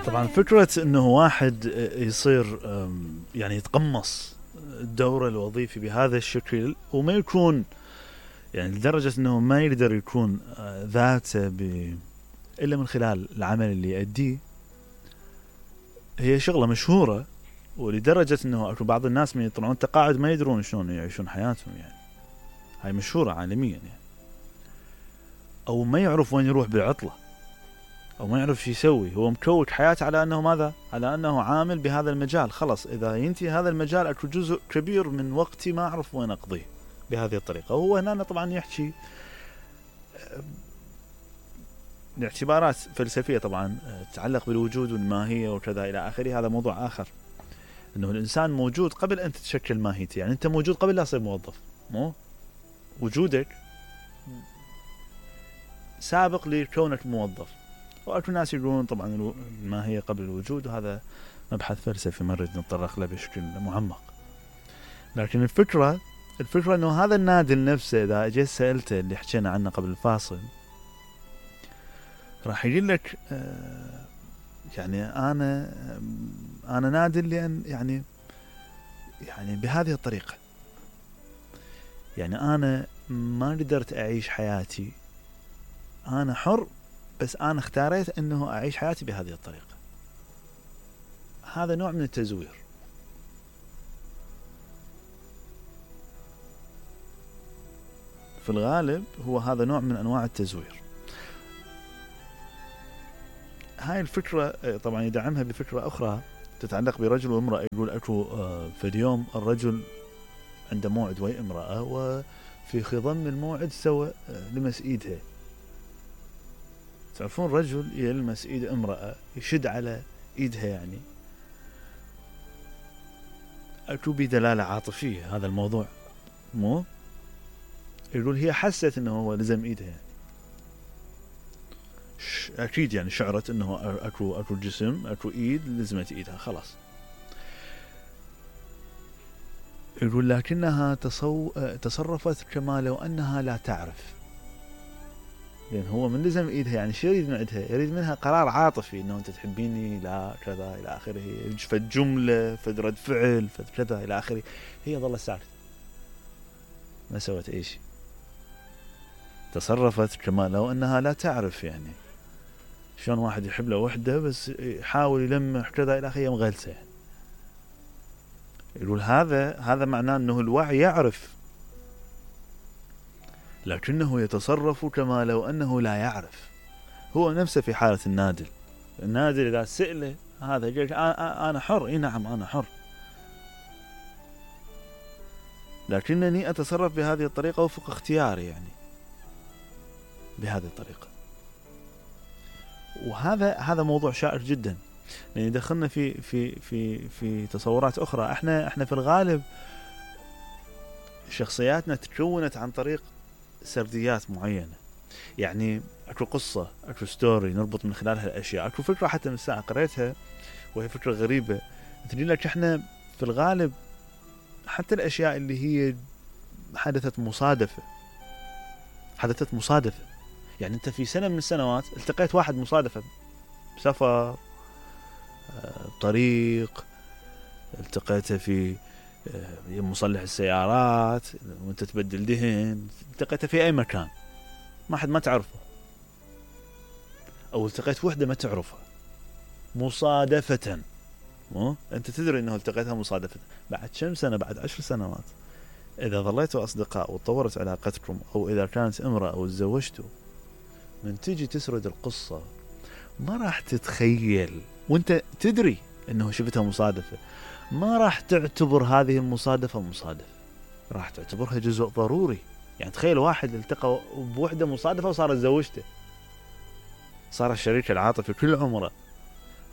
طبعا فكرة انه واحد يصير يعني يتقمص الدور الوظيفي بهذا الشكل وما يكون يعني لدرجة انه ما يقدر يكون ذاته الا من خلال العمل اللي يؤديه، هي شغلة مشهورة. ولدرجة انه اكو بعض الناس من يطلعون تقاعد ما يدرون شلون يعيشون حياتهم، يعني هاي مشهورة عالميا يعني. او ما يعرف وين يروح بالعطلة، او ما يعرف شو يسوي، هو مكوك حياته على انه ماذا؟ على انه عامل بهذا المجال. خلص اذا ينتهي هذا المجال اكو جزء كبير من وقتي ما اعرف وين اقضيه بهذه الطريقة. وهو هنا طبعا يحكي لاعتبارات فلسفية طبعا تتعلق بالوجود والماهية وكذا الى اخره. هذا موضوع اخر، انه الانسان موجود قبل ان تتشكل ماهيته. يعني انت موجود قبل لا تصير موظف، مو وجودك سابق لكونك موظف. واكو ناس يقولون طبعا الماهية قبل الوجود، وهذا مبحث فلسفي ما نريد نتطرق له بشكل معمق. لكن الفكرة انه هذا النادل نفسه اذا اجيت سألته اللي حكينا عنه قبل الفاصل راح يقول لك يعني انا نادل لان يعني بهذه الطريقة، يعني انا ما قدرت اعيش حياتي، انا حر بس انا اختاريت انه اعيش حياتي بهذه الطريقة. هذا نوع من التزوير. في الغالب هو هذا نوع من انواع التزوير. هاي الفكرة طبعا يدعمها بفكرة اخرى تتعلق برجل وامرأة. يقول اكو في اليوم الرجل عنده موعد ويا امرأة، وفي خضم الموعد سوى لمس ايدها. تعرفون رجل يلمس ايد امرأة يشد على ايدها، يعني اكو بدلالة عاطفية هذا الموضوع، مو يقول هي حست انه هو لزم ايدها، يعني اكيد يعني شعرت انه اكو جسم، اكو ايد لزمت ايدها خلاص. يقول لكنها تصرفت كما لو انها لا تعرف، لان هو من لزم ايدها يعني شو يريد من عندها؟ يريد منها قرار عاطفي انه انت تحبيني لا كذا الى اخره، فد جمله فد رد فعل فد كذا الى اخره. هي ظلت ساكته ما سوت اي شيء، تصرفت كما لو انها لا تعرف. يعني شلون واحد يحب له وحده بس يحاول يلمح كذا الى اخره مغلسه. يعني يقول هذا معناه انه الوعي يعرف لكنه يتصرف كما لو انه لا يعرف. هو نفسه في حالة النادل اذا سئله هذا يقول انا حر، اي نعم انا حر، لكنني اتصرف بهذه الطريقة وفق اختياري، يعني بهذه الطريقة. وهذا موضوع شائك جدا، لأن يدخلنا في تصورات أخرى. احنا في الغالب شخصياتنا تكونت عن طريق سرديات معينة. يعني اكو قصة، اكو ستوري نربط من خلالها الاشياء. اكو فكرة حتى من الساعة قريتها وهي فكرة غريبة تقول لك احنا في الغالب حتى الاشياء اللي هي حدثت مصادفة. يعني انت في سنة من السنوات التقيت واحد مصادفة بسفر، طريق، التقيته في مصلح السيارات وانت تبدل دهن، التقيته في اي مكان ما تعرفه، او التقيت وحدة ما تعرفها مصادفة. انت تدري انه التقيتها مصادفة. بعد كم سنة، بعد 10 سنوات اذا ظليتوا اصدقاء وتطورت علاقتكم، او اذا كانت امرأة او تزوجتوا، من تيجي تسرد القصة ما راح تتخيل وانت تدري انه شفتها مصادفة، ما راح تعتبر هذه المصادفة مصادفة، راح تعتبرها جزء ضروري. يعني تخيل واحد التقى بوحدة مصادفة وصارت زوجته، صار الشريك العاطفي كل عمره،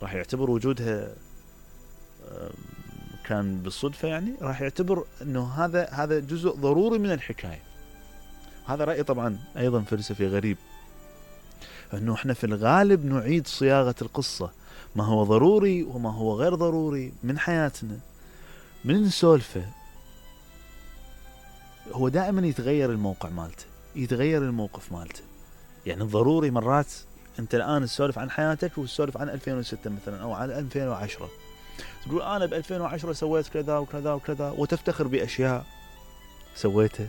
راح يعتبر وجودها كان بالصدفة. يعني راح يعتبر انه هذا جزء ضروري من الحكاية. هذا رأي طبعا ايضا فلسفي غريب، انه احنا في الغالب نعيد صياغة القصة، ما هو ضروري وما هو غير ضروري من حياتنا من نسولفه. هو دائما يتغير الموقع مالته، يتغير الموقف مالته. يعني الضروري مرات انت الان تسولف عن حياتك وتسولف عن 2006 مثلا او عن 2010، تقول انا ب 2010 سويت كذا وكذا وكذا وتفتخر باشياء سويتها.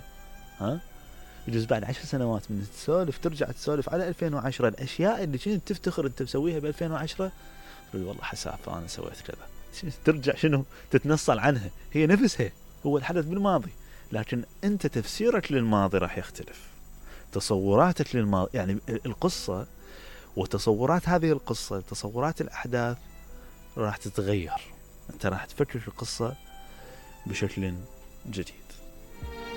ها يجوز بعد 10 سنوات من تسولف ترجع تسولف على 2010 الاشياء اللي كنت تفتخر انت مسويها ب 2010 تقول والله حسافه انا سويت كذا. ترجع شنو تتنصل عنها، هي نفسها، هو الحدث بالماضي، لكن انت تفسيرك للماضي راح يختلف، تصوراتك للماضي يعني القصة وتصورات هذه القصة، تصورات الأحداث راح تتغير، أنت راح تفكر في القصة بشكل جديد.